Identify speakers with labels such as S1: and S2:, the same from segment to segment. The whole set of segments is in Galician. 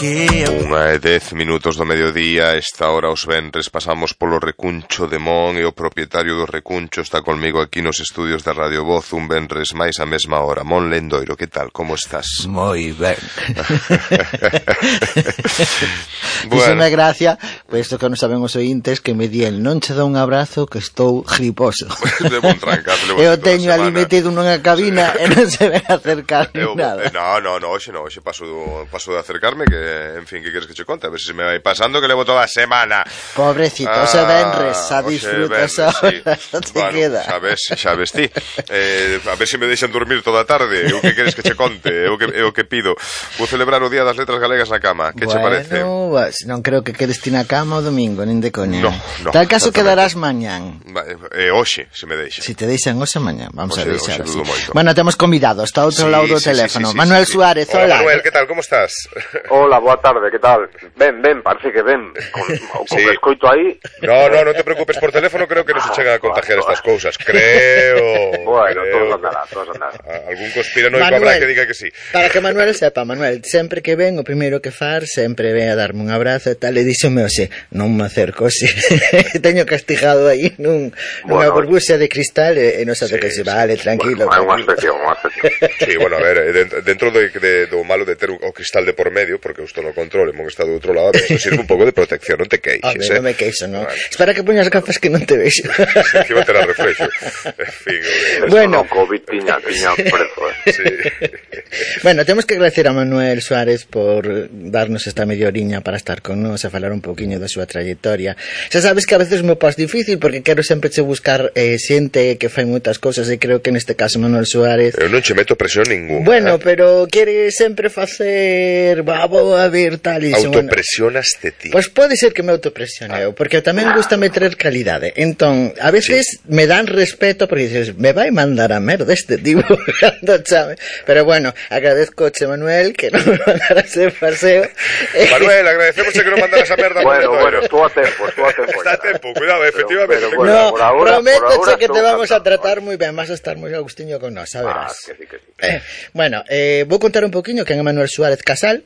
S1: Unha e 10 minutos do mediodía. Esta hora os venres pasamos polo Recuncho de Mon e o propietario do Recuncho está conmigo aquí nos estudios da Radio Voz un venres máis a mesma hora. Mon Lendoiro, que tal? Como estás?
S2: Moi ben.
S3: Díxeme gracia, pois isto que non saben os ointes, que me di el non che dá un abrazo que estou griposo.
S1: Levo un trancazo,
S3: Eu teño ali metido nunha cabina e non se ven acercar nada.
S1: No, hoxe paso de acercarme, que, en fin, que queres que che conte? A ver se me vai pasando, que levo toda a semana.
S3: Pobrecito, ose venres, a disfruta esa hora, te
S1: bueno,
S3: queda.
S1: Xa ves ti. A ver se me deixan dormir toda a tarde. Eu que queres que che conte? Eu que pido. Vou celebrar o Día das Letras Galegas na cama. Que che parece?
S3: Bueno, non creo que quedes ti na cama o domingo, nin de coña.
S1: No.
S3: Tal caso quedarás mañán.
S1: Hoxe, se me deixa.
S3: Si te deixan hoxe mañán, vamos a deixar así.
S1: Bueno,
S3: temos convidado, está ao outro lado do teléfono.
S1: Sí,
S3: Manuel Suárez,
S1: hola. Manuel, que tal? Como estás?
S4: Hola, boa tarde, que tal? Ben, parece que ben. Con que escoito aí...
S1: No te preocupes por teléfono, creo que non se chegan a contagiar estas cousas. Creo.
S4: Bueno, todos andará.
S1: Algún conspiranoico habrá que diga que sí.
S3: Para que Manuel sepa, Manuel, sempre que ven, o primeiro que far, sempre ven a darme un abrazo e tal, e díxome hoxe, non me acerco, si. Teño castigado aí nunha burbuxa de cristal e non sabe que se vale, tranquilo.
S4: Bueno, unha excepción.
S1: Sí, bueno, a ver, dentro do malo de ter o cristal de por medio, porque isto non controle, mon está do outro lado, isto sirve un pouco de protección, non te queixes,
S3: non me queixo, non. Espera que poñas gafas que non te vexo.
S1: Que va a tener reflexo. En fin.
S4: Bueno, COVID tiña prezo,
S1: Sí.
S3: Bueno, temos que agradecer a Manuel Suárez por darnos esta media oriña para estar con nós e falar un pouquiño da súa trayectoria. Xa sabes que a veces me pos difícil porque quero sempre che buscar xente que fai moitas cousas e creo que neste caso Manuel Suárez...
S1: Eu non che meto presión ninguna.
S3: Bueno, pero quere sempre facer... Vou a ver tal e...
S1: Autopresionaste ti.
S3: Pois pode ser que me autopresioneo, porque tamén gusta meter calidade. Entón, a veces me dan respeto porque dices, me vai mandar a merda este tipo cando chame. Pero bueno, agradezcoche, Manuel, que non me mandara ese paseo.
S1: Manuel, agradecemos que non mandaras a merda.
S4: Bueno, estou a tempo.
S1: Está a tempo, cuidado, efectivamente.
S3: No, prométoche que te vamos a tratar moi ben, vas a estar moi agustiño con nós, a verás.
S4: Que sí.
S3: Bueno, vou contar un poquinho quen é Manuel Suárez Casal.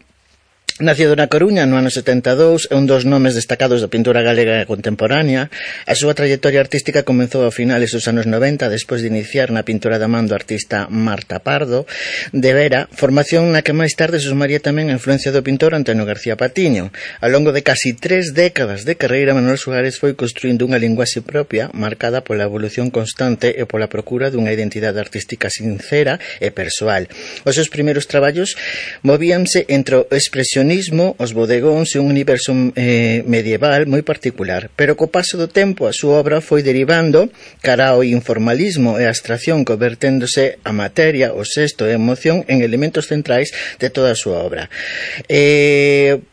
S3: Nacido na Coruña no ano 72, é un dos nomes destacados da pintura galega contemporánea. A súa trayectoria artística comezou a finales dos anos 90, despois de iniciar na pintura da man do artista Marta Pardo de Vera, formación na que máis tarde sumaría tamén a influencia do pintor Antonio García Patiño. Ao longo de casi 3 décadas de carreira, Manuel Suárez foi construindo unha linguaxe propia, marcada pola evolución constante e pola procura dunha identidade artística sincera e persoal. Os seus primeiros traballos movíanse entre o expresión os bodegóns e un universo medieval moi particular, pero co paso do tempo a súa obra foi derivando cara ao informalismo e a abstracción, converténdose a materia, o xesto e a emoción en elementos centrais de toda a súa obra.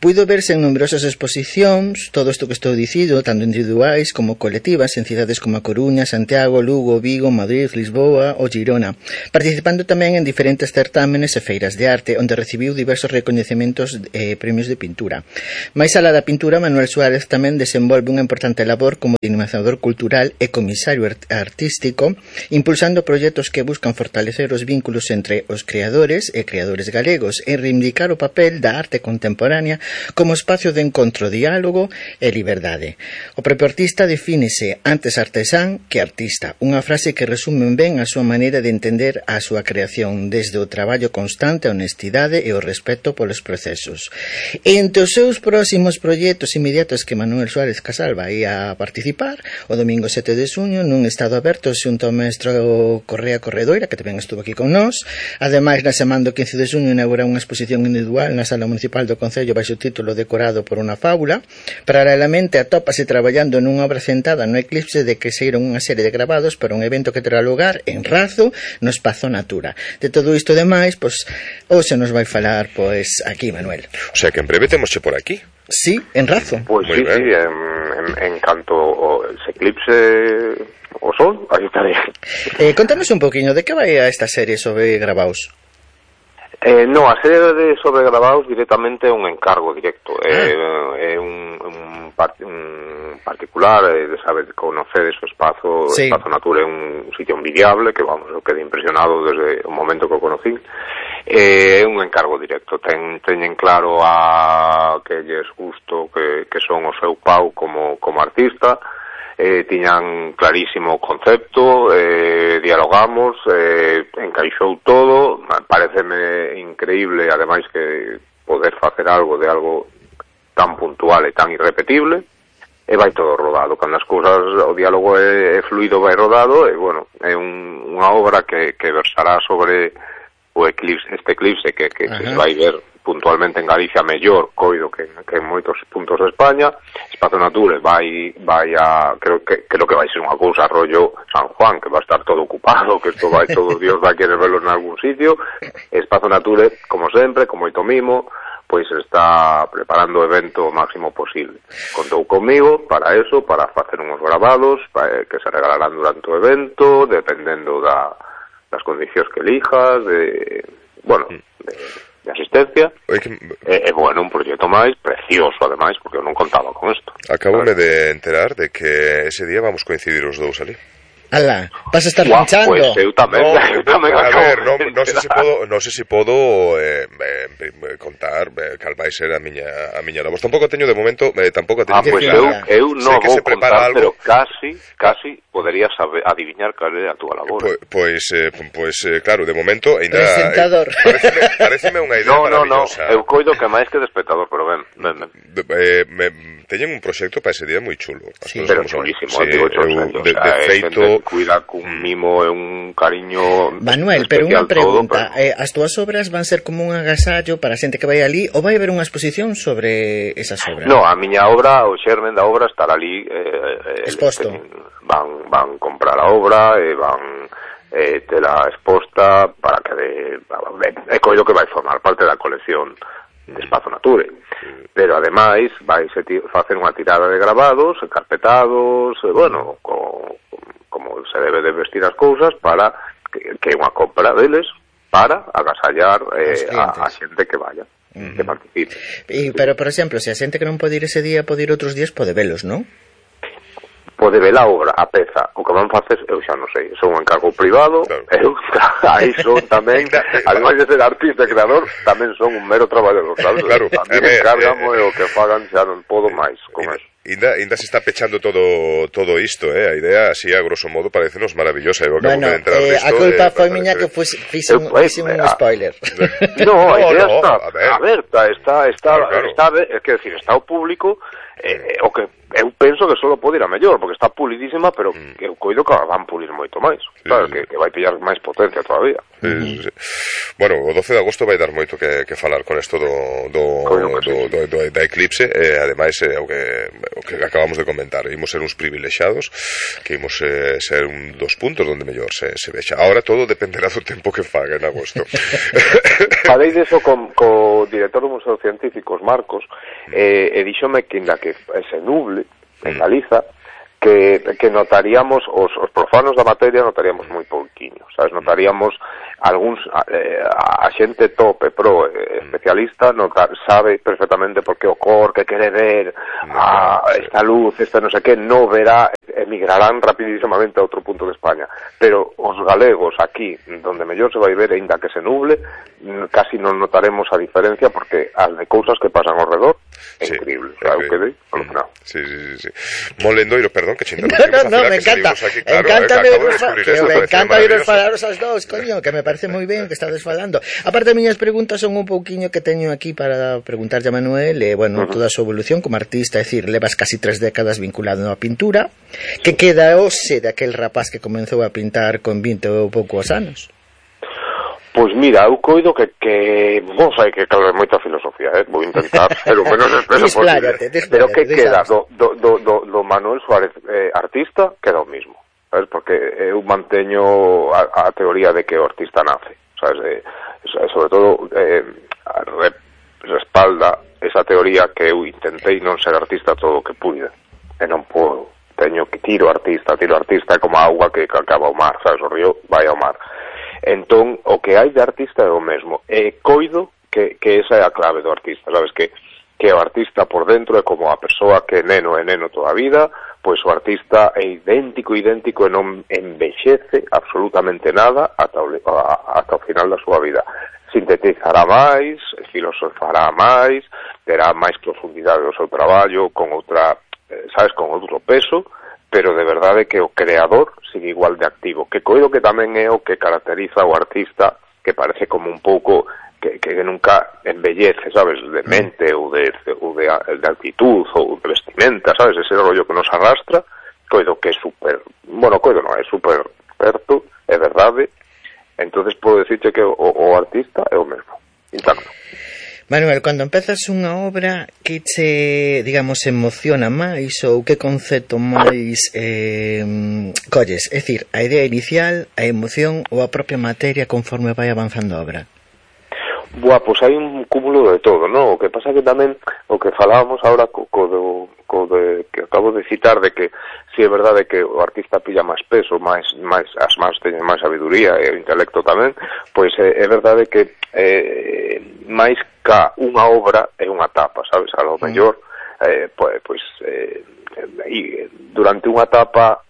S3: Puido verse en numerosas exposicións, todo isto que estou dicindo, tanto individuais como colectivas, en cidades como a Coruña, Santiago, Lugo, Vigo, Madrid, Lisboa ou Girona, participando tamén en diferentes certámenes e feiras de arte, onde recibiu diversos recoñecementos premios de pintura. Mais alá da pintura, Manuel Suárez tamén desenvolve unha importante labor como dinamizador cultural e comisario artístico, impulsando proxectos que buscan fortalecer os vínculos entre os creadores e creadores galegos e reivindicar o papel da arte contemporánea como espacio de encontro, diálogo e liberdade. O propio artista defínese antes artesán que artista, unha frase que resume ben a súa maneira de entender a súa creación desde o traballo constante, a honestidade e o respeto polos procesos. Entre os seus próximos proxectos inmediatos que Manuel Suárez Casal vai a participar o domingo 7 de xuño nun estado aberto xunto ao maestro Correa Corredoira, que tamén estuvo aquí con nós. Ademais, na semana do 15 de xuño inaugura unha exposición individual na Sala Municipal do Concello baixo o título Decorado por unha fábula. Paralelamente atópase traballando nunha obra centrada no eclipse de que saíron unha serie de grabados para un evento que terá lugar en Razo, no Espazo Natura. De todo isto demais, pois hoxe nos vai falar pois aquí Manuel.
S1: O sea que en breve temosche por aquí.
S3: Sí, en Razo.
S4: Pois sí, en canto se eclipse o sol, aí estaré.
S3: Contanos un poquinho de que vai a esta serie sobre gravaos.
S4: No, a serie de sobre gravaos directamente é un encargo directo. É un particular, de saber conocer ese espazo, sí. Espazo Natura é un sitio envidiable, que vamos, eu quedé impresionado desde o momento que o conocí. É un encargo directo, teñen claro a que lles gusto que son o seu pau como artista. Tiñan clarísimo o concepto, dialogamos, encaixou todo. Pareceme increíble, ademais, que poder facer algo de algo tan puntual e tan irrepetible, e vai todo rodado. Cando as cousas, o diálogo é fluido, vai rodado, e, bueno, é unha obra que versará sobre o eclipse, este eclipse que se vai ver puntualmente en Galicia mellor, coido, que en moitos puntos de España. Espazo Nature vai a, creo que vai ser unha cousa rollo San Juan, que va a estar todo ocupado, que isto vai, todo Dios vai querer verlo en algún sitio. Espazo Nature, como sempre, con moito mimo, pois está preparando o evento o máximo posible. Contou comigo para eso, para facer uns gravados que se regalarán durante o evento, dependendo das condicións que elijas, de asistencia. Bueno, un proxecto máis precioso, ademais, porque eu non contaba con isto.
S1: Acabome de enterar de que ese día vamos coincidir os dous ali.
S3: Ala, vas a estar pinchando.
S4: Pues eu tamén.
S1: A ver, non sei se podo contar cal vai ser a miña labor. Tampouco teño de momento, tampouco teño.
S4: Pues eu non vou contar, pero casi poderías adivinar cal é a túa labor.
S1: Pois claro, de momento ainda
S3: presentador.
S1: Pareceme unha idea maravillosa.
S4: Eu coido que máis que de espectador, pero ben.
S1: Teñen un proxecto para ese día moi chulo.
S4: Sí, pero chulísimo, digo,
S1: de feito
S4: cuida cun mimo e un cariño.
S3: Manuel, pero unha pregunta, as túas obras van ser como un agasallo para a xente que vai ali, ou vai haber unha exposición sobre esas obras?
S4: No, a miña obra, o xermen da obra estará ali
S3: exposto.
S4: Van comprar a obra e van tela exposta para que é coido que vai formar parte da colección de Espazo Nature, pero ademais vai facer unha tirada de gravados, encarpetados, bueno, como se debe de vestir as cousas, para que unha compra deles para agasallar a xente que vaya, que participe.
S3: Pero, por exemplo, se a xente que non pode ir ese día pode ir outros días, pode velos, non?
S4: Pode ver a obra, a peza. O que van facer, eu xa non sei, son un encargo privado, claro. Aí son tamén, ademais de ser artista e creador, tamén son un mero traballador, sabes?
S1: Claro,
S4: tamén encárgamo e o que fagan xa non podo máis con eso.
S1: Ainda se está pechando todo isto, a idea así a grosso modo parecenos maravillosa.
S3: Bueno, a culpa foi miña que fixe un spoiler.
S4: No, a idea está aberta, está, é que decir, está o público, o que eu penso que só pode ir a mellor, porque está pulidísima, pero eu coido que van pulir moito máis, claro, que vai pillar máis potencia todavía.
S1: Bueno, o 12 de agosto vai dar moito que falar con isto da eclipse, ademais o que acabamos de comentar, imos ser uns privilexiados, que imos ser un dos puntos onde mellor se vexa. Ahora todo dependerá do tempo que faga en agosto.
S4: Falei deso co director do Museo Científico, Marcos, e díxome que inda que se nuble en Galiza, que notaríamos os profanos da materia notaríamos moi pouquiño, sabes, notaríamos algúns a xente top e pro especialista sabe perfectamente por que o cor que quere ver esta luz, esta non sei que, non verá, emigrarán rapidísimamente a outro punto de España, pero os galegos aquí, donde mellor se vai ver, ainda que se nuble, casi non notaremos a diferencia, porque as de cousas que pasan ao redor é increíble, o sea, eu quedei alucinado.
S1: Sí. Mon Lendoiro, perdón, que che interrumpimos.
S3: No, me encanta. Me encanta oíros falaros aos dous, coño, que me parece moi ben que estades falando. Aparte, miñas preguntas son un pouquiño que teño aquí para preguntarlle a Manuel, bueno, toda a súa evolución como artista, é dicir, levas casi 3 décadas vinculado á pintura, que queda hoxe daquel rapaz que comenzou a pintar con 20 ou poucos anos?
S4: Pois mira, eu coido que non sei que calve moita filosofía, vou intentar ser o menos expreso posible, pero que queda do Manuel Suárez artista, queda o mismo, sabes, porque eu manteño a teoría de que o artista nace, sabes, sobre todo respalda esa teoría que eu intentei non ser artista todo o que pude, e non podo, teño que tiro artista como a auga que acaba o mar, sabes, o río vai ao mar. Entón, o que hai de artista é o mesmo. E coido que esa é a clave do artista, sabes, que o artista por dentro é como a persoa que é neno toda a vida, pois o artista é idéntico e non envexece absolutamente nada ata o final da súa vida. sintetizará máis, filosofará máis, terá máis profundidade do seu traballo, con outra, con outro peso, pero de verdade que o creador sigue igual de activo, que coido que tamén é o que caracteriza o artista, que parece como un pouco que nunca embellece, sabes, de mente ou de actitud ou de vestimenta, sabes, ese rollo que nos arrastra, coido que é super, coido non, é super certo, é verdade, entonces podo dicirte que o artista é o mesmo, intacto.
S3: Manuel, cando empezas unha obra, que che, digamos, emociona máis ou que concepto máis colles? É dicir, a idea inicial, a emoción ou a propia materia conforme vai avanzando a obra?
S4: Pois hai un cúmulo de todo, non? O que pasa que tamén, o que falábamos agora que acabo de citar, de que si é verdade que o artista pilla máis peso, as máis teñen máis sabiduría e o intelecto tamén, pois é verdade que máis ca unha obra é unha etapa, sabes? A lo mellor, durante unha etapa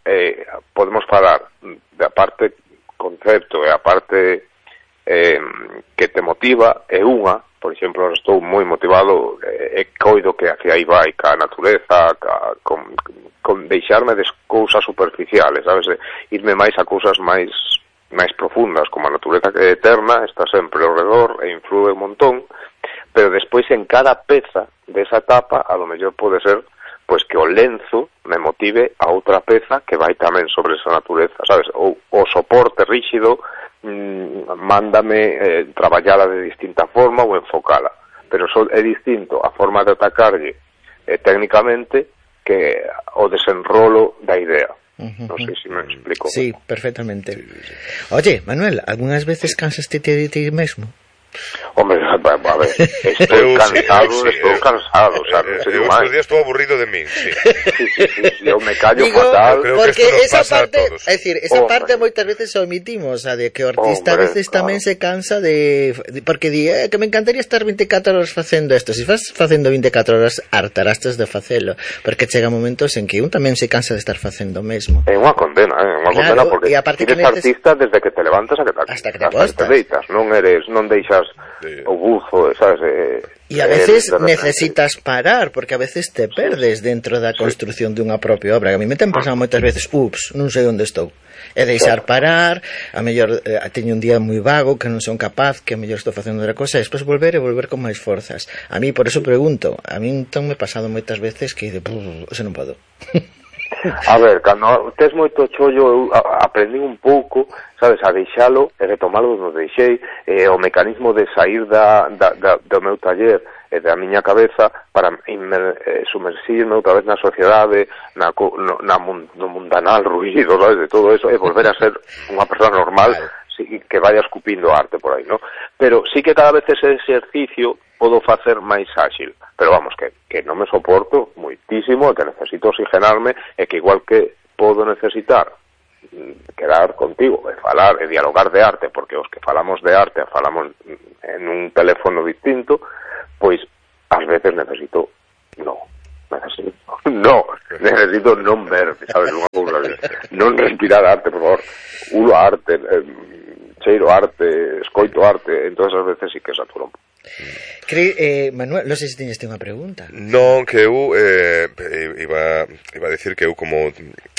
S4: podemos falar da parte concepto e a parte que te motiva é unha, por exemplo, estou moi motivado e coido que hacia aí vai ca natureza, con deixarme de cousas superficiales, sabes, irme máis a cousas máis profundas, como a natureza que é eterna, está sempre ao redor e influe un montón, pero despois en cada peza desa etapa a lo mellor pode ser pois que o lenzo me motive a outra peza que vai tamén sobre esa natureza, sabes, ou o soporte ríxido mándame traballala de distinta forma ou enfocala, pero é distinto a forma de atacarlle técnicamente que o desenrolo da idea. Non sei se me explico.
S3: Sí, perfectamente. Oye, Manuel, algunhas veces cansaste de ti mesmo?
S4: Hombre, a ver, estou cansado, o sea, non sei máis.
S1: Estes días estou aburrido de min, sí.
S4: Sí, eu me callo fatal.
S3: Porque esa parte, é dicir, esa parte moitas veces omitimos, a de que o artista a veces tamén se cansa porque di, que me encantaría estar 24 horas facendo isto. Se vas facendo 24 horas, hartarastes de facelo, porque chega momentos en que un tamén se cansa de estar facendo o mesmo.
S4: É unha condena, porque eres artista desde que te levantas hasta que te deitas, non deixas o buzo, sabes?
S3: E a veces necesitas parar, porque a veces te perdes dentro da construción dunha propia obra. A mí me ten pasado moitas veces, non sei onde estou. E deixar parar, a mellor teño un día moi vago, que non son capaz, que a mellor estou facendo outra cosa, e despois volver con máis forzas. A mí, por eso pregunto, a mí entón me he pasado moitas veces que non podo.
S4: A ver, cando tes moito chollo, eu aprendi un pouco, sabes, a deixalo e retomalo onde deixei, o mecanismo de sair do meu taller e da miña cabeza para sumersirme outra vez na sociedade, no mundanal ruido, sabes, de todo eso, e volver a ser unha persona normal que vaya escupindo arte por aí, ¿no? Pero sí que cada vez ese exercicio podo facer máis áxil, pero vamos, que non me soporto moitísimo e que necesito oxigenarme e que igual que podo necesitar quedar contigo e falar e dialogar de arte, porque os que falamos de arte falamos en un teléfono distinto, pois ás veces necesito non ver, sabes, unha cousa así, non respirar arte, por favor, ulo arte, cheiro arte, escoito arte, entonces ás veces sí que saturo un pouco.
S3: Manuel, non sei se teñes unha pregunta.
S1: Non, que eu iba a decir que eu como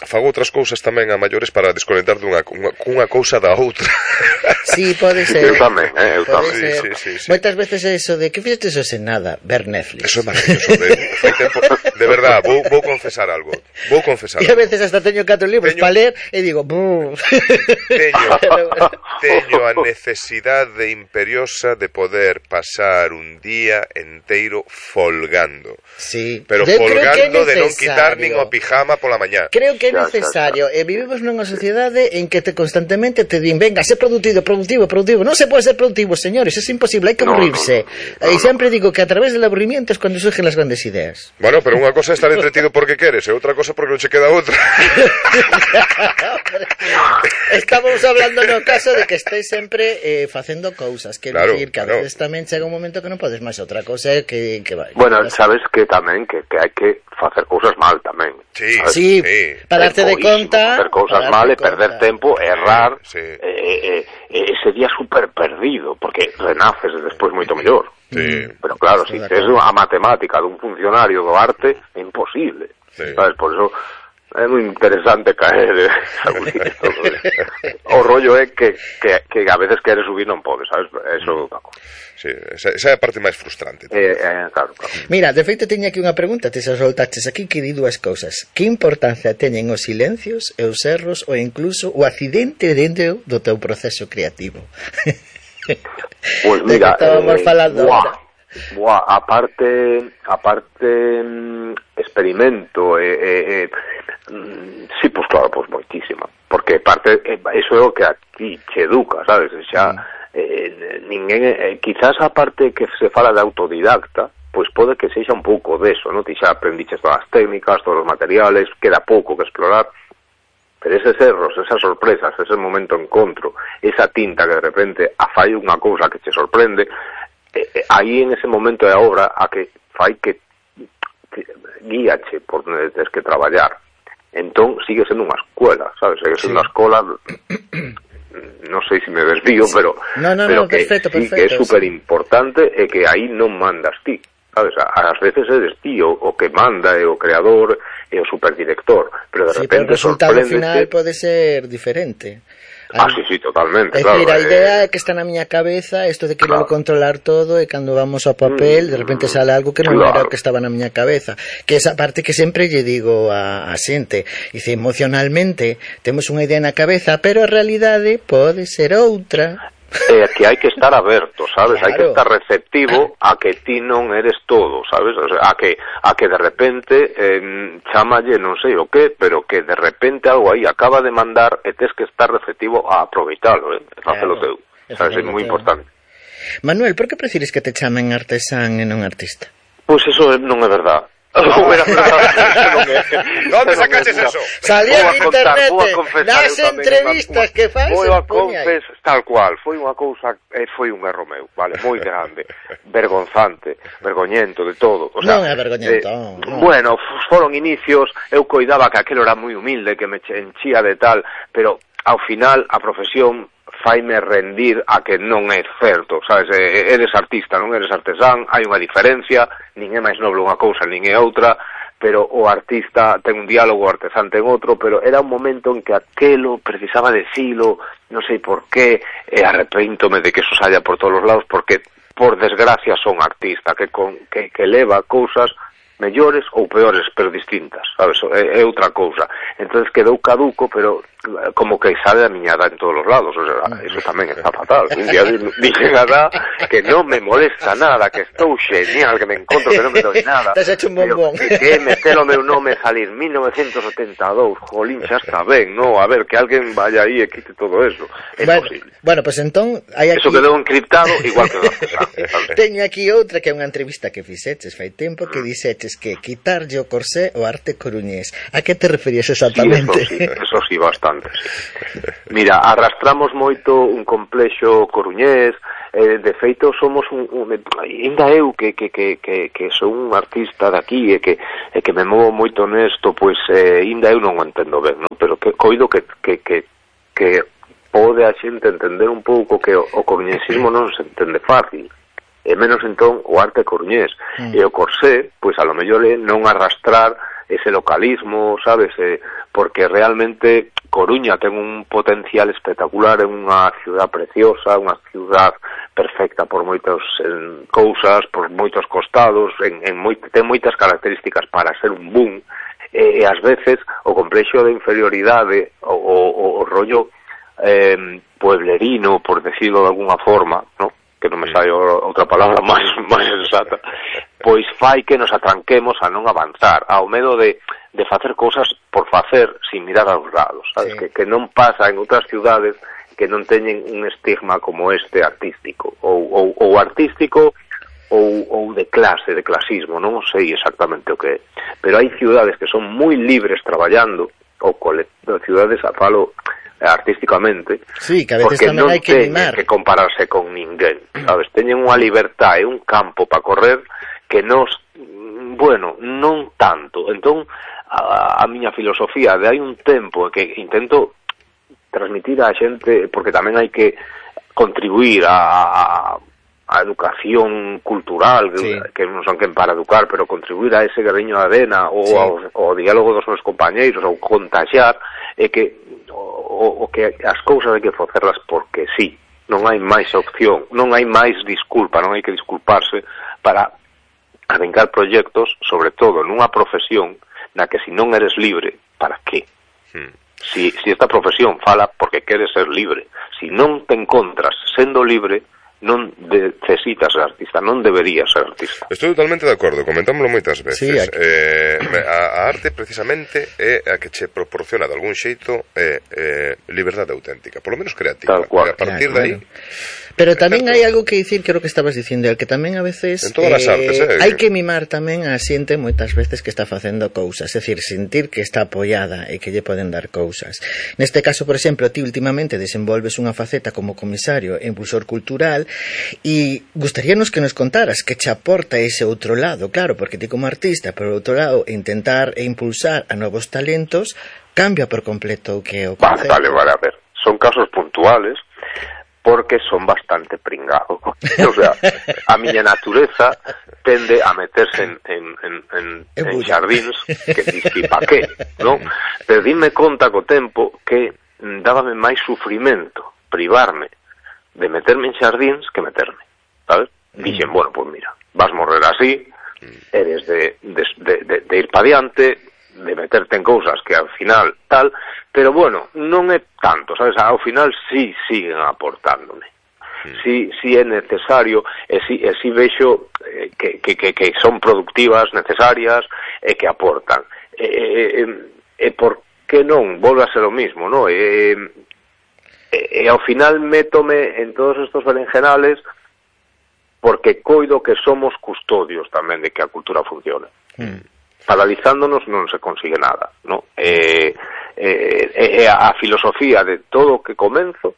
S1: fago outras cousas tamén a maiores para desconectar cunha cousa da outra.
S3: Sí, pode ser.
S4: Eu tamén,
S1: Sí.
S3: Moitas veces é eso de que fixeste eso sen nada, ver Netflix.
S1: Eso é maravilloso, fai tempo, de verdad, vou confesar algo. E
S3: a veces hasta teño 4 libros para ler e digo,
S1: teño a necesidade imperiosa de poder pasar un día enteiro folgando.
S3: Sí.
S1: Pero folgando de non quitar nin o pijama pola mañá.
S3: Creo que é necesario. E vivimos nunha sociedade en que constantemente te din, venga, sé productivo. Non se pode ser productivo, señores, é imposible, hai que aburrirse. E sempre digo que a través del aburrimiento es cuando surgen las grandes ideas.
S1: Bueno, pero unha cosa é estar entretido porque queres, e outra cosa porque non che queda outra.
S3: Estamos hablando no caso de que estés sempre facendo cousas, quero dicir que a veces tamén chega un momento que non podes podes máis outra cosa que vai.
S4: Bueno, sabes que tamén que hai que facer cousas mal tamén.
S3: Sí, para darte de conta,
S4: facer cousas mal e perder tempo, errar, ese día super perdido, porque renaces despois moito mellor. Pero claro, se tes a matemática dun funcionario do arte, é imposible. Sabes, por eso é moi interesante caer o rollo é que a veces queres subir non podes, sabes? Eso é
S1: sí, esa é a parte máis frustrante.
S4: Claro.
S3: Mira, de feito teña aquí unha pregunta, te xa soltaches aquí que di dúas cousas. Que importancia teñen os silencios e os erros ou incluso o accidente dentro do teu proceso creativo?
S4: Pois mira,
S3: estábamos falando
S4: aparte experimento sí, pues claro, pues moitísima, porque parte eso é o que aquí che educa, sabes, xa ninguén, quizás a parte que se fala de autodidacta, pois pode que sexa un pouco deso, non? Ti xa aprendiches todas as técnicas, todos os materiales, queda pouco que explorar, pero eses erros, esas sorpresas, ese momento de encontro, esa tinta que de repente fai unha cousa que che sorprende, aí en ese momento é a obra a que fai que guíache por onde tens que traballar. Entón sigue sendo unha escuela, sabes? Sigue sendo unha escola, non sei se me desvío, pero
S3: no,
S4: que
S3: perfecto,
S4: sí, que é super importante e que aí non mandas ti, sabes? Ás veces eres ti o que manda, é o creador, é o superdirector, pero de repente
S3: pero o resultado final pode ser diferente.
S4: Sí, totalmente,
S3: claro. A idea é que está na miña cabeza, isto de querer controlar todo, e cando vamos ao papel, de repente sale algo que non era o que estaba na miña cabeza. Que esa parte que sempre lle digo a xente, dice, emocionalmente temos unha idea na cabeza, pero a realidade pode ser outra.
S4: Que hai que estar aberto, sabes? Claro. Hai que estar receptivo a que ti non eres todo, sabes? O sea, a que de repente chámalle non sei o que, pero que de repente algo aí acaba de mandar e tes que estar receptivo a aproveitalo, facelo teu. Sabes? É moi importante.
S3: Manuel, por que prefires que te chamen artesán e non artista?
S4: Pois eso non é verdad.
S1: ¿Dónde sacaches eso?
S3: Salía en internet nas entrevistas que faz.
S4: Tal cual, foi unha cousa, foi un erro meu, vale, moi grande, vergonzante, vergoñento de todo, o sea,
S3: non é vergoñento,
S4: bueno, foron inicios, eu coidaba que aquilo era moi humilde, que me enchía de tal, pero ao final a profesión faime rendir a que non é certo, sabes, eres artista, non eres artesán, hai unha diferencia, nin é máis noble unha cousa, nin é outra, pero o artista ten un diálogo, o artesán ten outro, pero era un momento en que aquelo precisaba decilo, non sei por qué, e arrepéntome de que eso saia por todos os lados, porque, por desgracia, son artista, que leva cousas mellores ou peores, pero distintas, sabes, é outra cousa. Entonces quedou caduco, pero como que sale a miñada en todos os lados, o sea, eso tamén está fatal. Un día dixen a da que non me molesta nada, que estou genial, que me encontro, que non me doi nada.
S3: Te has hecho un bombón.
S4: Que meter o meu nome salir 1972, jolín, xa está ben, no, a ver, que alguén vaya aí e quite todo eso. É posible.
S3: Bueno, pues entón, hai aquí...
S4: Eso quedou encriptado, igual que o artesán.
S3: Teño aquí outra que é unha entrevista que fixeches fai tempo, que dixeches que quitarlle o corsé o arte coruñés. A que te referías exactamente?
S4: Sí, eso sí, bastante. Sí. Mira, arrastramos moito un complexo coruñés, de feito somos ainda eu que sou un artista daqui e que me movo moito nesto, pois ainda eu non o entendo ben, non? Pero que coido que pode a xente entender un pouco que o coruñesismo non se entende fácil, e menos entón o arte coruñés, e o corsé, pois a lo mellor é non arrastrar ese localismo, sabes, porque realmente Coruña ten un potencial espectacular, é unha ciudad preciosa, unha ciudad perfecta por moitas cousas, por moitos costados, ten moitas características para ser un boom, e ás veces o complexo de inferioridade, o rollo pueblerino, por decirlo de alguna forma, ¿no? Que non me sai outra palabra máis exacta, pois fai que nos atranquemos a non avanzar, ao medo de facer cousas por facer sin mirar aos lados, sabes? Sí. Que non pasa en outras ciudades que non teñen un estigma como este artístico, ou artístico ou de clase, de clasismo, non sei exactamente o que é, pero hai ciudades que son moi libres traballando, ou ciudades, falo artísticamente,
S3: sí, que a veces
S4: porque non
S3: hai que
S4: teñen que compararse con ninguén, sabes? Teñen unha libertad e un campo para correr que nos, bueno, non tanto. Entón, a miña filosofía de hai un tempo que intento transmitir á xente, porque tamén hai que contribuir a educación cultural, sí, que non son quen para educar, pero contribuir a ese gradiño de arena ou sí, ao diálogo dos meus compañeiros, ou contagiar, é que o que as cousas hai que facerlas porque sí, non hai máis opción, non hai máis disculpa, non hai que disculparse para arrancar proxectos, sobre todo nunha profesión na que se non eres libre, para qué? Si esta profesión fala porque queres ser libre, si non te encontras sendo libre, non necesitas ser artista, non deberías ser artista.
S1: Estou totalmente de acordo, comentámoslo moitas veces. Sí, a arte precisamente é a que che proporciona de algún xeito liberdade auténtica, polo menos creativa.
S4: Tal cual.
S1: A partir de aí...
S3: Pero tamén hai algo que dicir, creo que estabas dicindo, que tamén a veces
S1: en todas as artes,
S3: hai que mimar tamén a xente moitas veces que está facendo cousas, é dicir, sentir que está apoiada e que lle poden dar cousas. Neste caso, por exemplo, ti últimamente desenvolves unha faceta como comisario e impulsor cultural e gustaríanos que nos contaras que che aporta ese outro lado, claro, porque ti como artista, por outro lado, intentar e impulsar a novos talentos cambia por completo o que é o concepto.
S4: Vale, a ver, son casos puntuales, porque son bastante pringado. O sea, a miña natureza tende a meterse en xardíns que disque pa qué, non? Pero dime conta co tempo que dábame máis sufrimento privarme de meterme en xardíns que meterme, sabes? Dixen, bueno, pues mira, vas morrer así, eres de ir pa diante, de meterte en cousas que ao final tal, pero bueno, non é tanto, sabes, ao final sí siguen aportándome, sí é necesario, e sí vexo que son productivas, necesarias, e que aportan, e por que non, volve a ser o mismo, non? E ao final métome en todos estos berenjenales porque coido que somos custodios tamén de que a cultura funcione. Paralizándonos non se consigue nada, ¿no? A filosofía de todo o que comenzo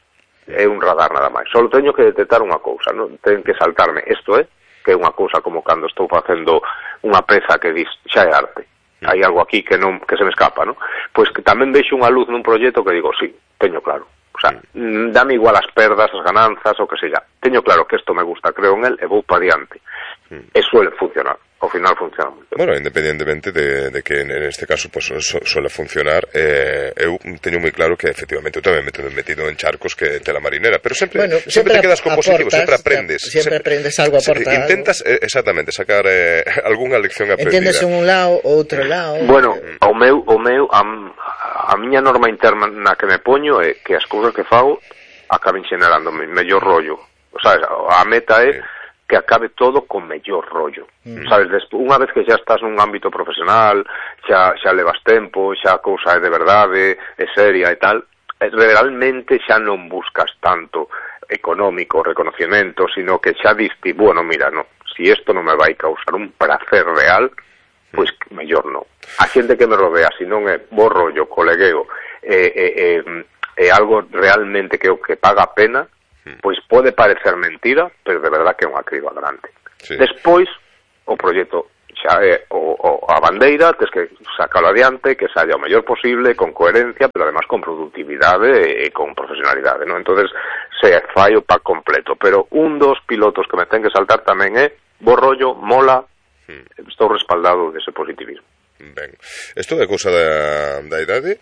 S4: é un radar nada máis. Só teño que detectar unha cousa, non? Ten que saltarme isto que é unha cousa como cando estou facendo unha peza que dis, xa é arte. Hai algo aquí que se me escapa, ¿no? Pois que tamén vexo unha luz nun proxecto que digo, sí, teño claro. O sea, dame igual as perdas, as gananzas, o que sella. Teño claro que isto me gusta, creo en el, e vou pa diante. E suele funcionar. Ao final funciona moito.
S1: Bueno, independentemente de que en este caso pues, suele funcionar, eu teño moi claro que efectivamente eu tamén me he metido en charcos que tela marinera, pero sempre te quedas con positivo, sempre aprendes.
S3: Sempre aprendes algo, aporta
S1: intentas, exactamente, sacar algunha lección aprendida.
S3: Entendes un lado, outro lado.
S4: Bueno, a miña norma interna na que me poño é que as cousas que fago acaben xenerando mellor rollo. O sea, a meta é que acabe todo con mellor rollo. Sabes, unha vez que xa estás nun ámbito profesional, xa levas tempo, xa a cousa é de verdade, é seria e tal, realmente xa non buscas tanto económico reconocimiento, sino que xa diste, bueno, mira, no, si isto non me vai causar un placer real, pois mellor non. A xente que me rodea, se non é bo rollo, colegueo, é algo realmente que paga a pena, pois pode parecer mentira, pero de verdad que é unha criba grande. Sí. Despois, o proxecto xa é a bandeira, tens que sacalo adiante, que saia o mellor posible, con coherencia, pero además con productividade e con profesionalidade, non? Entonces, se fai o pack completo, pero un dos pilotos que me ten que saltar tamén é bo rollo, mola, estou respaldado dese positivismo.
S1: Ben, isto é cousa da idade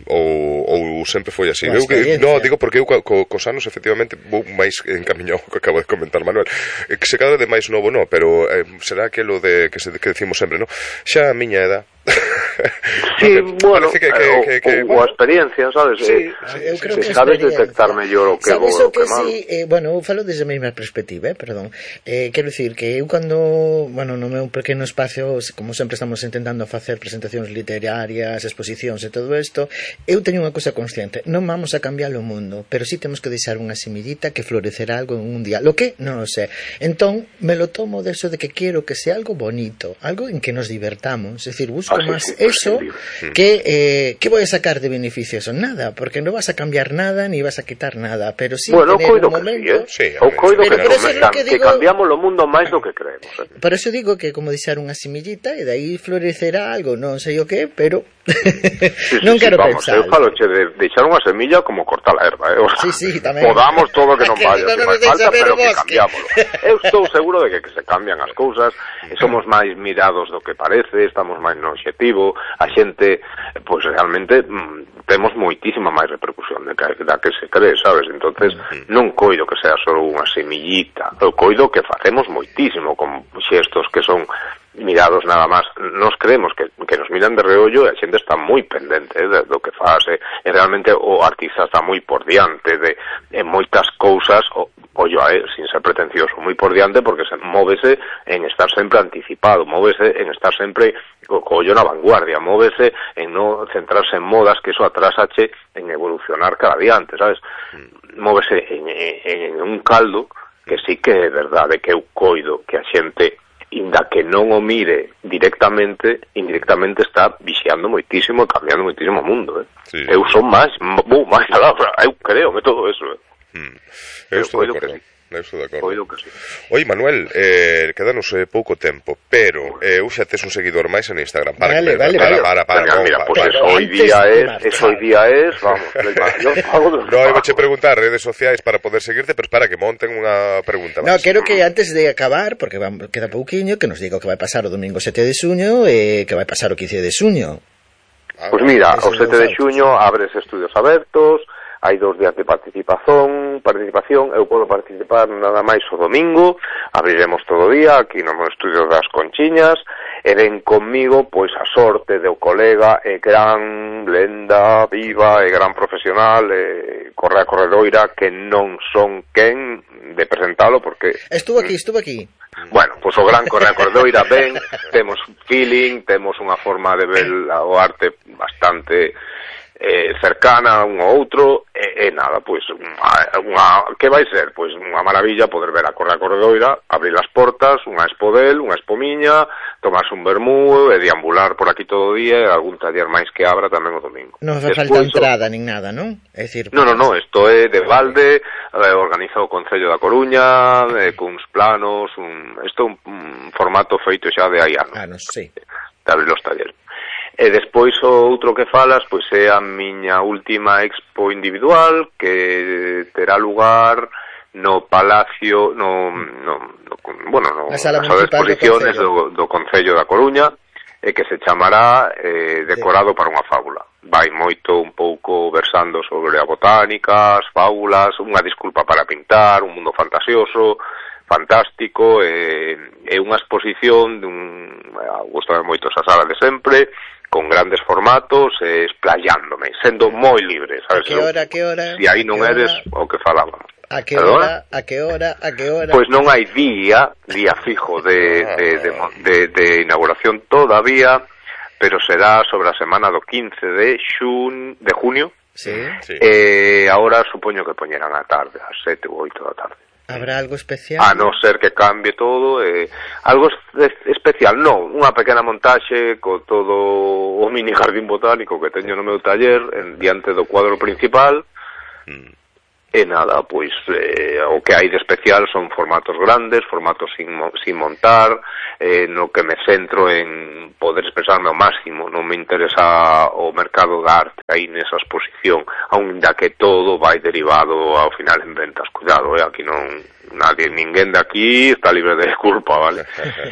S1: ou sempre foi así? Non, digo porque eu cos anos efectivamente vou máis encamiñado que acabo de comentar Manuel, que se cada vez máis novo non, pero será aquilo de que decimos sempre, non? Xa a miña edad
S4: sí, bueno, ou a experiencia, sabes?
S3: Sí, eu creo que
S4: sabes detectar mellor o que bo o que malo.
S3: Bueno, eu falo desde a mesma perspectiva, perdón. Quero dicir que eu cando, bueno, no meu pequeno espacio, como sempre estamos intentando facer presentacións literarias, exposicións e todo isto, eu teño unha cousa consciente, non vamos a cambiar o mundo, pero sí temos que deixar unha semillita que florecerá algo en un día. Lo que non o sé. Entón, me lo tomo de eso de que quero que sea algo bonito, algo en que nos divertamos, é dicir, busco máis eso, que voy a sacar de beneficio? Eso, nada, porque no vas a cambiar nada, ni vas a quitar nada, pero sí tener un momento...
S4: Eu coido que cambiamos o mundo máis do que creemos.
S3: Por eso digo que como deixar unha semillita e dai florecerá algo, non sei o que, pero non quero pensar.
S4: Eu falo de deixar unha semilla como cortar a erva,
S3: Sí, tamén.
S4: Podamos todo que non vaya, que máis falta, pero que cambiámoslo. Eu estou seguro de que se cambian as cousas, somos máis mirados do que parece, estamos máis no obxectivo, a xente, pois realmente temos moitísima máis repercusión da que se cree, sabes? Entonces non coido que sea só unha semillita, eu coido que facemos moitísimo con xestos que son mirados nada máis. Nos creemos que nos miran de reollo e a xente está moi pendente do que faz, e realmente o artista está moi por diante de moitas cousas, sin ser pretencioso, moi por diante, porque móvese en estar sempre anticipado, móvese en estar sempre co ollo na vanguardia, móvese en non centrarse en modas, que eso atrasache en evolucionar cada día antes, sabes? Móvese en un caldo que sí que é verdade que eu coido que a xente, inda que non o mire directamente, indirectamente está vixiando moitísimo e cambiando moitísimo o mundo, Sí. Eu son máis alá, eu creo que todo eso,
S1: Eu estou de acordo.
S4: Coido que sí.
S1: Oi, Manuel, quedanos pouco tempo, pero xa tes un seguidor máis en Instagram. Para,
S4: mira, pues eso hoy día es, vamos, yo pago dos.
S1: No, eu vouche preguntar redes sociais para poder seguirte, pero para que monten unha pregunta máis.
S3: No, quero que antes de acabar, porque queda pouquiño, que nos diga o que vai pasar o domingo 7 de xuño e que vai pasar o 15 de xuño.
S4: Pois mira, o 7 de xuño abres estudios abertos, hai 2 días de participación, eu podo participar nada máis o domingo, abriremos todo o día aquí no meu estudio das Conchiñas, e ven conmigo pois a sorte do colega e gran lenda viva e gran profesional Correa Corredoira, que non son quen de presentalo porque...
S3: Estuvo aquí.
S4: Bueno, pois o gran Correa Corredoira ven, temos feeling, temos unha forma de ver o arte bastante cercana un ao outro, e nada, pois que vai ser? Pois unha maravilla poder ver a Correa Corredoira, abrir as portas, unha expo del, unha expo miña, tomarse un vermú e deambular por aquí todo o día, e algún taller máis que abra tamén o domingo.
S3: Non fai falta entrada nin nada, non? É dicir,
S4: No, isto é de balde, organiza o Concello da Coruña, cuns planos, isto é un formato feito xa de hai anos.
S3: Sí.
S4: De abrir os talleres. E despois o outro que falas, pois é a miña última expo individual, que terá lugar no Palacio, nas salas de exposiciones do Concello da Coruña, e que se chamará Decorado para unha fábula. Vai moito un pouco versando sobre a botánica, as fábulas, unha disculpa para pintar, un mundo fantasioso, fantástico, é unha exposición gustame moito esa sala de sempre, con grandes formatos, esplayándome, sendo moi libre, sabes?
S3: A que hora?
S4: Si aí non eres o que falábamos.
S3: A que hora?
S4: Pois non hai día fijo de inauguración todavía, pero será sobre a semana do 15 de junio.
S3: Sí.
S4: Ahora supoño que poñerán a tarde, ás 7 ou 8 da tarde.
S3: Habrá algo especial?
S4: A non ser que cambie todo, algo especial, non, unha pequena montaxe co todo o mini jardín botánico que teño no meu taller diante do cuadro principal, e nada, pois o que hai de especial son formatos grandes, formatos sin montar, no que me centro en poder expresarme ao máximo, non me interesa o mercado da arte aí nesa exposición, aínda que todo vai derivado ao final en ventas, cuidado, aquí non ninguén de aquí está libre de culpa, vale?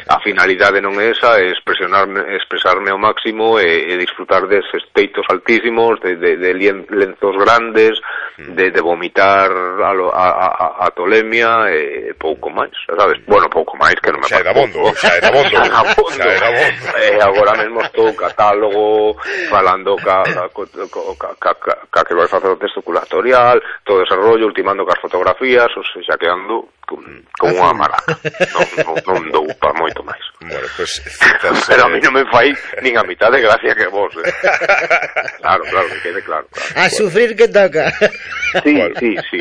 S4: A finalidade non é esa, é expresarme ao máximo e disfrutar deses teitos altísimos, de lenzos grandes, de vomitar a tolemia e pouco máis, sabes? Bueno, pouco máis que non me
S1: xa é da bondo.
S4: Agora mesmo estou catálogo falando ca que vai facer o texto curatorial, todo ese rollo, ultimando cas fotografías, o sea, xa quedando como unha maraca. Non dou pa moito máis.
S1: Bueno, pues citas,
S4: pero a mí non me fai nin a mitad de gracia que vos. Claro, que quede claro.
S3: A sufrir que toca.
S4: Sí,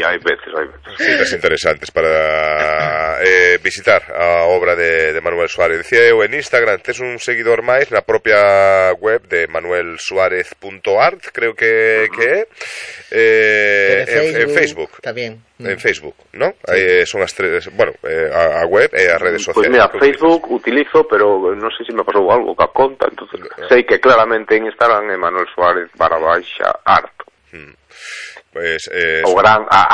S4: hai veces.
S1: Citas interesantes para visitar a obra de Manuel Suárez. Decía eu, en Instagram tes un seguidor máis na propia web de manuelsuarez.art, creo que é. En Facebook.
S3: Tamén.
S1: En Facebook, ¿no? Sí. Son as tres, bueno, a web e as redes sociales.
S4: Pues mira, Facebook utilizo, pero non sei se me pasou algo ca conta, entonces sei que claramente en Instagram é Manuel Suárez _art.
S1: Pues,
S4: o gran, a